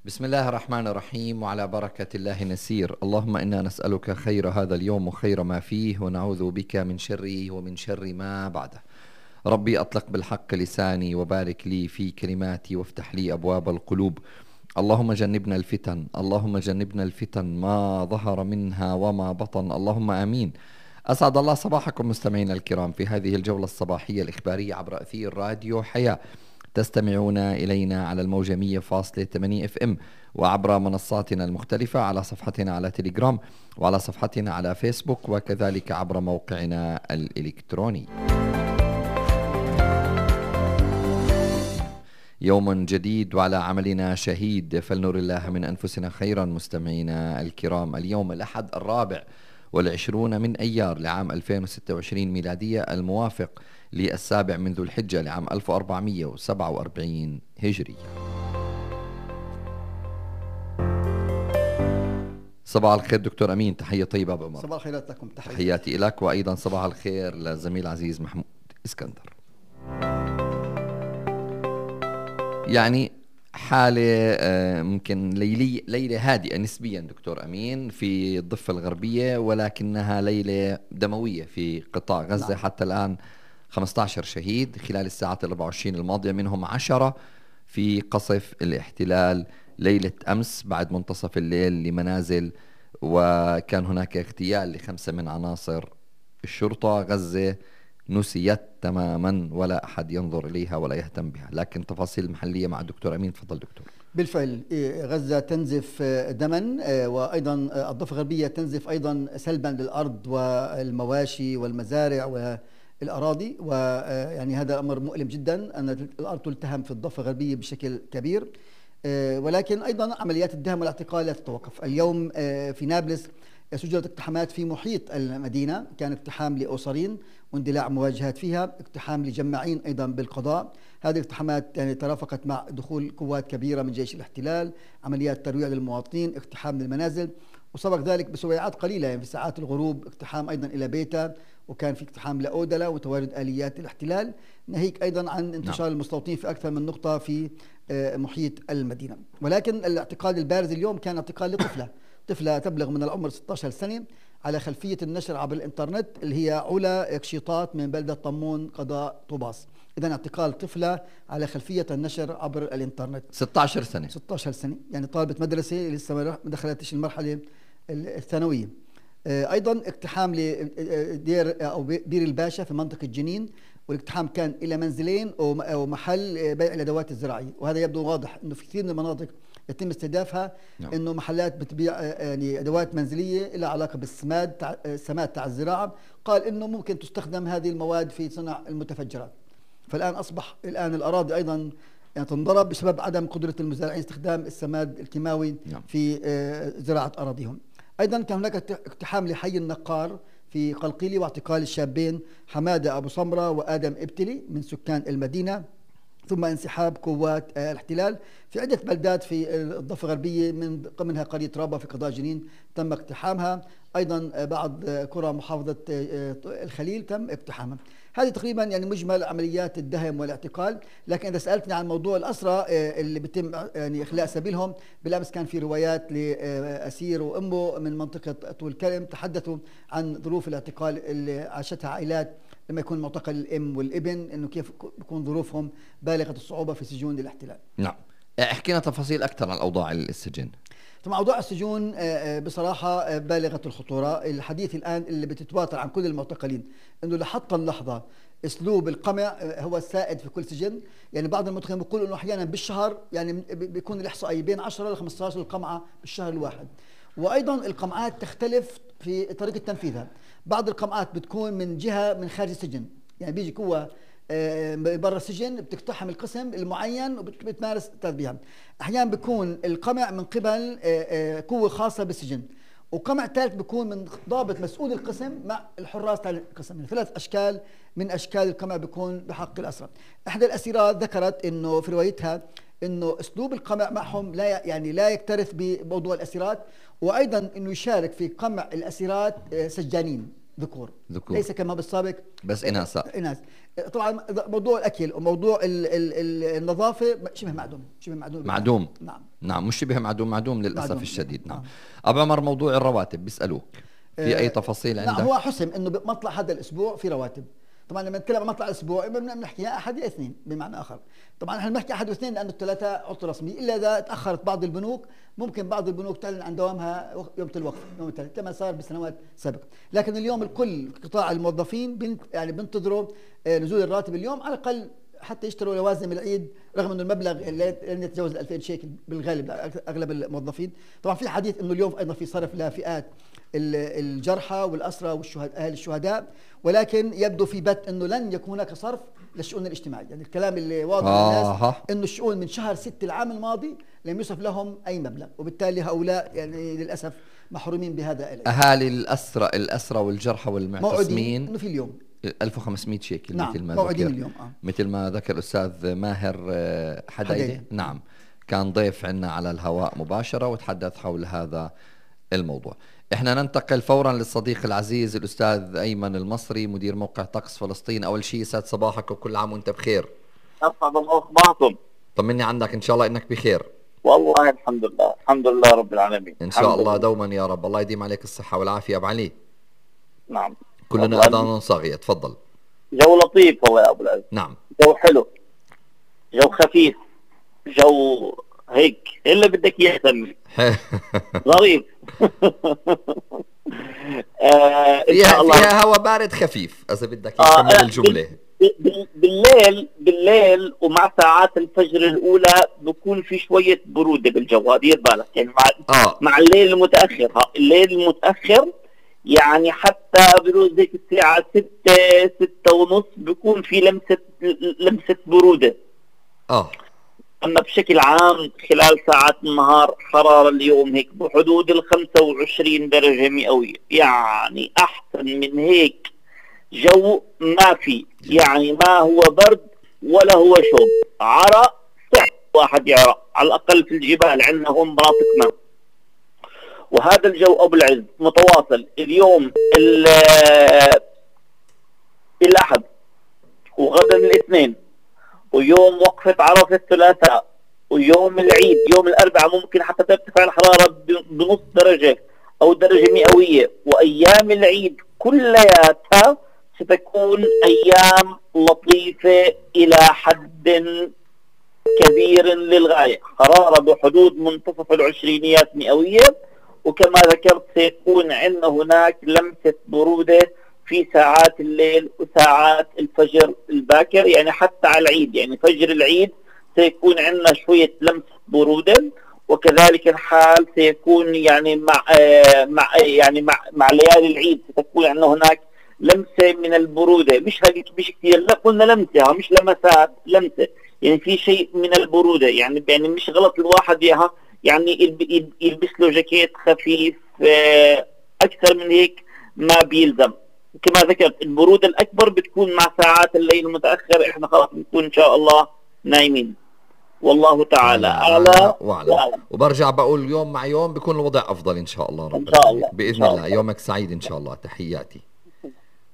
بسم الله الرحمن الرحيم، وعلى بركة الله نسير. اللهم إنا نسألك خير هذا اليوم وخير ما فيه، ونعوذ بك من شره ومن شر ما بعده. ربي أطلق بالحق لساني، وبارك لي في كلماتي، وافتح لي أبواب القلوب. اللهم جنبنا الفتن، اللهم جنبنا الفتن ما ظهر منها وما بطن، اللهم آمين. أسعد الله صباحكم مستمعينا الكرام في هذه الجولة الصباحية الإخبارية عبر أثير راديو حياة. تستمعون إلينا على الموجة 100.8 FM، وعبر منصاتنا المختلفة، على صفحتنا على تليجرام، وعلى صفحتنا على فيسبوك، وكذلك عبر موقعنا الإلكتروني. يوم جديد وعلى عملنا شهيد، فلنر الله من أنفسنا خيرا. مستمعينا الكرام، اليوم الأحد 24 من أيار لعام 2026 ميلادية، الموافق للسابع من ذو الحجة لعام 1447 هجرية. صباح الخير دكتور أمين، تحية طيبة بأمر. صباح الخيرات لكم، تحياتي لك، وأيضا صباح الخير للزميل العزيز محمود إسكندر. يعني حالة ممكن ليلة هادئة نسبيا دكتور أمين في الضفة الغربية، ولكنها ليلة دموية في قطاع غزة. نعم. حتى الآن 15 شهيد خلال الساعات 24 الماضية، منهم 10 في قصف الاحتلال ليلة أمس بعد منتصف الليل لمنازل، وكان هناك اغتيال ل5 من عناصر الشرطة. غزة نسيت تماما، ولا أحد ينظر إليها ولا يهتم بها. لكن تفاصيل المحلية مع الدكتور أمين. تفضل دكتور. بالفعل غزة تنزف دما، وأيضا الضفة الغربية تنزف أيضا سلبا للأرض والمواشي والمزارع والأراضي، ويعني هذا أمر مؤلم جدا أن الأرض تلتهم في الضفة الغربية بشكل كبير. ولكن أيضا عمليات الدهم والاعتقال لا تتوقف. اليوم في نابلس سجلت اقتحامات في محيط المدينة، كان اقتحام لأسرين واندلاع مواجهات فيها، اقتحام لجماعين أيضا بالقضاء. هذه الاقتحامات يعني ترافقت مع دخول قوات كبيرة من جيش الاحتلال، عمليات ترويع للمواطنين، اقتحام للمنازل، وسبق ذلك بسويعات قليلة يعني في ساعات الغروب اقتحام أيضا إلى بيتا، وكان في اقتحام لأودلة وتواجد آليات الاحتلال، ناهيك أيضا عن انتشار المستوطنين في أكثر من نقطة في محيط المدينة. ولكن الاعتقال البارز اليوم كان اعتقال طفلة تبلغ من العمر 16 سنة على خلفية النشر عبر الإنترنت، اللي هي علا كشيطات من بلدة طمون قضاء طوباس. إذن اعتقال طفلة على خلفية النشر عبر الإنترنت. 16 سنة، يعني طالبة مدرسة لسه ما دخلتش المرحلة الثانوية. أيضا اقتحام لدير أو بير الباشا في منطقة جنين، والاقتحام كان إلى منزلين ومحل بيع الأدوات الزراعية. وهذا يبدو واضح أنه في كثير من المناطق يتم استهدافها. نعم. انه محلات بتبيع يعني ادوات منزليه لها علاقه السماد تاع الزراعه، قال انه ممكن تستخدم هذه المواد في صنع المتفجرات. فالان اصبح الاراضي ايضا يعني تنضرب بسبب عدم قدره المزارعين استخدام السماد الكيماوي. نعم. في زراعه اراضيهم. ايضا كان هناك اقتحام لحي النقار في قلقيلي، واعتقال الشابين حماده ابو سمره وادم ابتلي من سكان المدينه، ثم انسحاب قوات الاحتلال في عدة بلدات في الضفة الغربية، منها قرية رابا في قضاء جنين تم اقتحامها. أيضا بعض قرى محافظة الخليل تم اقتحامها. هذه تقريبا يعني مجمل عمليات الدهم والاعتقال. لكن إذا سألتني عن موضوع الأسرى اللي بيتم يعني إخلاء سبيلهم، بالأمس كان في روايات لأسير وأمه من منطقة طول كرم تحدثوا عن ظروف الاعتقال اللي عاشتها عائلات لما يكون معتقل الأم والابن، إنه كيف بيكون ظروفهم بالغة الصعوبة في سجون الاحتلال. نعم. احكينا تفاصيل أكثر عن أوضاع السجن. طبعا أوضاع السجون بصراحة بالغة الخطورة. الحديث الآن اللي بتتواتر عن كل المعتقلين إنه لحتى اللحظة أسلوب القمع هو السائد في كل سجن. يعني بعض المعتقلين بيقولوا إنه أحيانا بالشهر يعني بيكون الإحصائية بين 10 ل 15 القمعة بالشهر الواحد. وأيضا القمعات تختلف في طريقة تنفيذها. بعض القمعات بتكون من جهة من خارج السجن، يعني بيجي قوة برا السجن بتقتحم القسم المعين وبتمارس تربية. أحيانا بيكون القمع من قبل قوة خاصة بالسجن، وقمع ثالث بيكون من ضابط مسؤول القسم مع الحراس تاع القسم. يعني 3 أشكال من أشكال القمع بيكون بحق الأسرى. إحدى الأسيرات ذكرت إنه في روايتها إنه أسلوب القمع معهم لا يكترث بموضوع الأسيرات، وأيضا إنه يشارك في قمع الأسيرات سجانين ذكور ذكور. ليس كما بالسابق بس إناث. طبعا موضوع الاكل وموضوع النظافه شبه معدوم. نعم مش شبه معدوم للاسف معدوم. الشديد. نعم. ابو عمر، موضوع الرواتب بيسالوك في اي تفاصيل عندك؟ نعم، هو حسم انه بمطلع هذا الاسبوع في رواتب. طبعا لما نتكلم عن مطلع الاسبوع بنحكي يا احد يا اثنين بمعنى اخر. طبعا احنا بنحكي احد واثنين لانه الثلاثه عطله رسميه، الا اذا تاخرت بعض البنوك ممكن بعض البنوك تعلن عن دوامها يوم الوقف، يوم الثلاث، كما صار بسنوات سابقه. لكن اليوم الكل قطاع الموظفين يعني بينتظروا نزول الراتب اليوم على الاقل حتى يشتروا لوازم العيد، رغم انه المبلغ لن يتجاوز 2000 شيكل بالغالب اغلب الموظفين. طبعا في حديث انه اليوم ايضا في صرف لفئات الجرحى والاسرى والشهداء اهل الشهداء، ولكن يبدو في بت انه لن يكون هناك صرف للشؤون الاجتماعيه. يعني الكلام اللي واضح للناس انه الشؤون من شهر 6 العام الماضي لم يصرف لهم اي مبلغ، وبالتالي هؤلاء يعني للاسف محرومين بهذا العيد. اهالي الاسرى والجرحى والمعتصمين انه في اليوم 1500 شيكل. نعم. مثل ما موعدين ذكر اليوم مثل ما ذكر الأستاذ ماهر حديدي. نعم، كان ضيف عنا على الهواء مباشرة وتحدث حول هذا الموضوع. احنا ننتقل فورا للصديق العزيز الأستاذ أيمن المصري، مدير موقع طقس فلسطين. أول شيء يسعد صباحك وكل عام وانت بخير. أسعد الله صباحكم. طمني عنك، إن شاء الله إنك بخير. والله الحمد لله، الحمد لله رب العالمين. إن شاء الله دوما يا رب. الله يديم عليك الصحة والعافية أبو علي. نعم. كلنا أذان صاغية. تفضل. جو لطيف والله يا أبو العز. نعم. جو حلو، جو خفيف، جو هيك إلا بدك إياه سمي ظريف. فيها هوا بارد خفيف إذا بدك يكمل الجملة. بالليل ومع ساعات الفجر الأولى بكون في شوية برودة بالجو، دير بالك يعني مع الليل المتأخر. الليل المتأخر يعني حتى بروز ذيك الساعة 6 ونص بيكون في لمسة برودة. أما بشكل عام خلال ساعات النهار حرارة اليوم هيك بحدود 25 درجة مئوية، يعني أحسن من هيك جو ما في. يعني ما هو برد ولا هو شوب، عرق صح واحد يعرق على الأقل في الجبال عندنا هون مناطق ما. وهذا الجو أبو العز متواصل اليوم الأحد وغدا الاثنين ويوم وقفة عرفة الثلاثاء ويوم العيد يوم الأربعاء ممكن حتى ترتفع الحرارة بنص درجة أو درجة مئوية. وأيام العيد كلياتها ستكون أيام لطيفة إلى حد كبير للغاية، حرارة بحدود منتصف العشرينيات مئوية. وكما ذكرت سيكون عندنا هناك لمسة برودة في ساعات الليل وساعات الفجر الباكر، يعني حتى على العيد يعني فجر العيد سيكون عندنا شوية لمسة برودة. وكذلك الحال سيكون يعني مع ليالي العيد ستكون عندنا هناك لمسة من البرودة، مش كثير، لا قلنا لمسة مش لمسات، لمسة يعني في شيء من البرودة. يعني مش غلط الواحد ياها يعني يلبس له جاكيت خفيف أكثر من هيك ما بيلزم. كما ذكرت البرودة الأكبر بتكون مع ساعات الليل المتأخر، إحنا خلاص بنكون إن شاء الله نايمين، والله تعالى أعلى وأعلم. وبرجع بقول يوم مع يوم بيكون الوضع أفضل إن شاء الله رب إن شاء الله بإذن الله. يومك سعيد إن شاء الله. تحياتي.